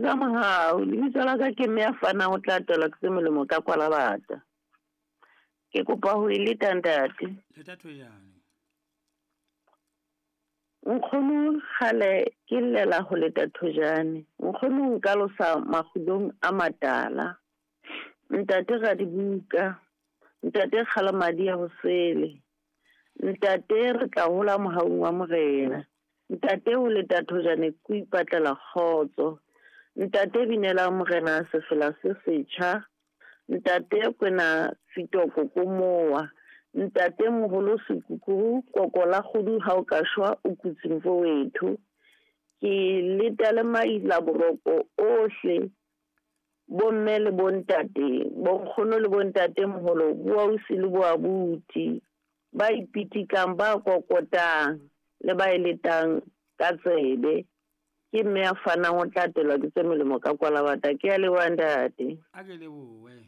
Ka mohau, lebitso la ka ke mme ya fanang o tla atelwa ke tse molemo ka kwalabata. Ke kopa ho e leta ntate. Leta thojane. Nkgono kgale ke llela ho leta thojane. Nkgono nka losa makgulong a matala. Ntate Radibuka, ntate Kgalamadi ya hosele. Ntate re tla hola mohaung wa Morena. Ntate ho leta thojane ke ho ipatlela kgotso. Ntate binela Morena sefela se setjha. Ntate kwena Fitoko komowa. Ntate moholo sekukuru koko la kgudu ha o ka shwa o kutse mfowethu. Ke leta le maila boroko ohle bomme le bontate, bonkgono le bontate moholo, boausi le boabuti, ba ipitikang, ba kokotang le ba eletang ka tsebe. Ke mme ya fanang o tla atelwa ke tse molemo ka kwalabata. Ke a leboha ntate. A ke lebohe.